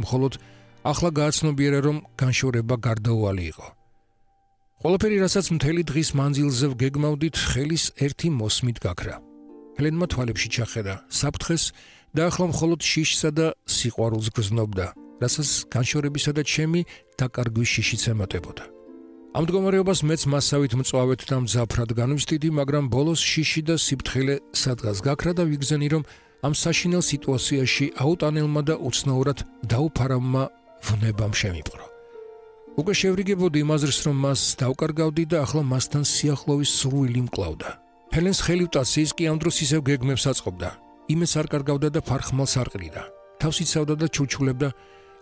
მხოლოდ ახლა გააცნობიერა, რომ განშორება გარდაუვალი იყო. ყველაფერი, რასაც მთელი დღის მანძილზე ვგეგმავდით, ხელის ერთი მოსმით გაქრა. ჰელენმა თვალებში ჩახედა საფრთხეს და ახლა მხოლოდ შიშსა და სიყვარულს გრძნობდა, რასაც განშორებისა და ჩემი დაკარგვის შიშიც ემატებოდა. ამ მდგომარეობას მეც მასავით მწვავედ და მძაფრად განვსდიდი, მაგრამ ბოლოს შიში და სიფრთხილე სადღაც გაქრა და ვიგზენი, რომ ამ საშინელ სიტუაციაში აუტანელმა და უცნაურად დაუფარავმა ვნებამ შემიპყრო. უკვე შევრიგებოდი იმაზრს, რომ მას დავკარგავდი და ახლა მასთან სიახლოვის სურვილი მკლავდა. ჰელენს ხელი ვტაციის კი ამ დროს ისევ გეგმებს აწყობდა. იმეს არ კარგავდა და ფარხმალს არ ყრიდა. თავს იცავდა და ჩურჩულებდა.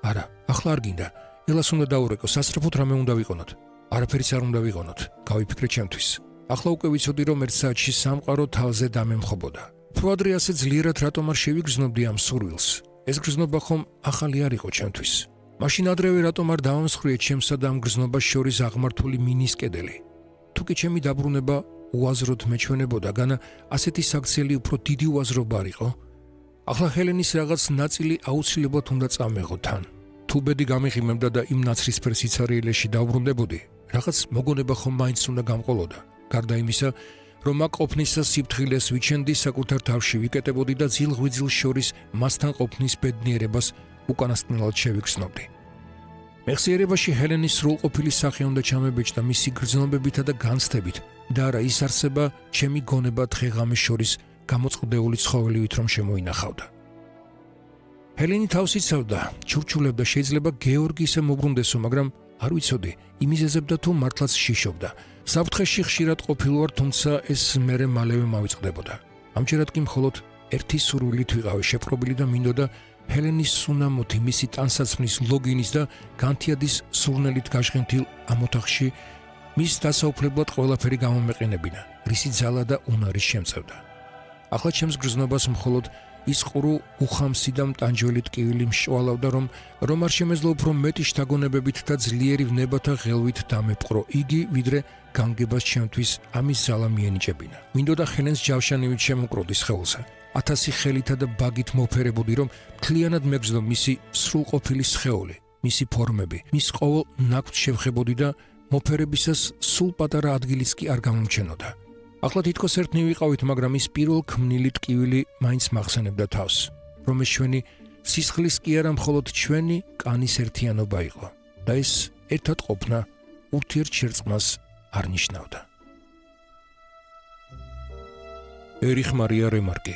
არა, ახლა არ გინდა. ელას უნდა დაურეკო, სასწრაფოდ რამე უნდა ვიყონოთ. არაფერიც არ უნდა ვიყონოთ, გავიფიქრე ჩემთვის. ახლა უკვე ვიცოდი, რომ ერთ საათში სამყარო თავზე დამემხობოდა. თუ ადრე ასე ძლიერად რატომ არ შევიგრძნობდი ამ სურვილს? ეს გრძნობა ხომ ახალი არ იყო ჩემთვის. მაშინ ადრევე რატომ არ დავამსხვრიე ჩემსა და ამ გრძნობას შორის აღმართული მინის კედელი? თუ კი ჩემი დაბრუნება უაზროდ მეჩვენებოდა, განა ასეთი საქციელი უფრო დიდი უაზრობა არ იყო? ახლა ჰელენის რაღაც ნაწილი აუცილებლად უნდა წამეღო თან. თუ ბედი გამიღიმებდა და იმ ნაცრისფერ სიცარიელეში დავბრუნდებოდი, რაღაც მოგონება ხომ მაინც უნდა გამყოლოდა. გარდა იმისა, რომ აქ ყოფნისას სიფრთხილეს ვიჩენდი, საკუთარ თავში ვიკეტებოდი და ძილ-ღვიძლ შორის მასთან ყოფნის ბედნიერებას უკანასკნელად შევიგრძნობდი. მეხსიერებაში ჰელენის სრულყოფილი სახე უნდა ჩამებეჭდა მისი გრძნობებითა და განცდებით და არა ის არსება ჩემი გონება დღე-ღამის შორის გამოწყდეული ცხოველივით რომ შემოინახავდა. ჰელენი თავს იცავდა, ჩურჩულებდა, შეიძლება გეორგი ისე მოbrunდესო, მაგრამ არ ვიცოდი, იმიზეზებდა თუ მართლაც შიშობდა. საფრთხეში ხშირად ყოფილვარ, თუმცა ეს მერე მალევე მავიწყდებოდა. ამჯერად კი მხოლოდ ერთი სურვილით ვიყავი შეპყრობილი და მინდოდა ჰელენის სუნამოთი, მისი ტანსაცმლის, ლოგინის და განთიადის სურნელით გაჟღენთილ ამ ოთახში მის დასაუფლებლად ყველაფერი გამომეყენებინა, რისი ძალა და უნარი შემწევდა. ახლა ჩემს გრძნობას მხოლოდ ის ყრუ უხამსი და მტანჯველი ტკივილი მშვალავდა, რომ არ შემეძლო უფრო მეტი შთაგონებებით და ძლიერი ვნებათა ღელვით დამეპყრო იგი, ვიდრე განგებას ჩემთვის ამის ძალა მიენიჭებინა. მინდოდა ჰელენს ჯავშანივით შემოკროდი სხეულზე. 1000 ხელითა და ბაგით მოფერებოდი, რომ მთლიანად მეგრძნო მისი სრულყოფილი სხეული, მისი ფორმები, მის ყოველ ნაკვთს შევხებოდი და მოფერებისას სულ პატარა ადგილიც კი არ გამომჩენოდა. ახლა თითქოს ერთნი ვიყავით, მაგრამ ის პირველ ქმნილი ტკივილი მაინც მახსენებდა თავს, რომ ეს ჩვენი სისხლის კი არა, მხოლოდ ჩვენი კანის ერთიანობა იყო და ეს ერთად ყოფნა ურთიერთშერწყმას არ ნიშნავდა. ერიხ მარია რემარკი,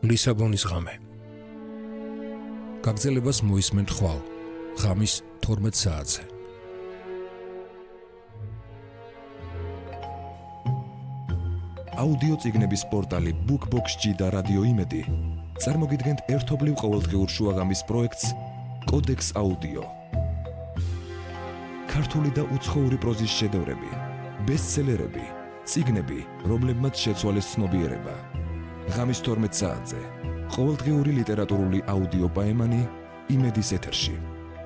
ლისაბონის ღამე. გაგრძელებას მოისმენთ ხვალ, ღამის 12 საათზე. აუდიო წიგნების პორტალი BookBox-ში და რადიო იმედი წარმოგიდგენთ ერთობლივ ყოველდღიურ შუაღამის პროექტს კოდექს აუდიო. ქართული და უცხოური პროზის შედევრები, ბესტსელერები, წიგნები, რომლებმაც შეცვალეს ცნობიერება. ღამის 12 საათზე ყოველდღიური ლიტერატურული აუდიო პაემანი იმედის ეთერში.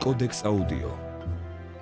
კოდექს აუდიო.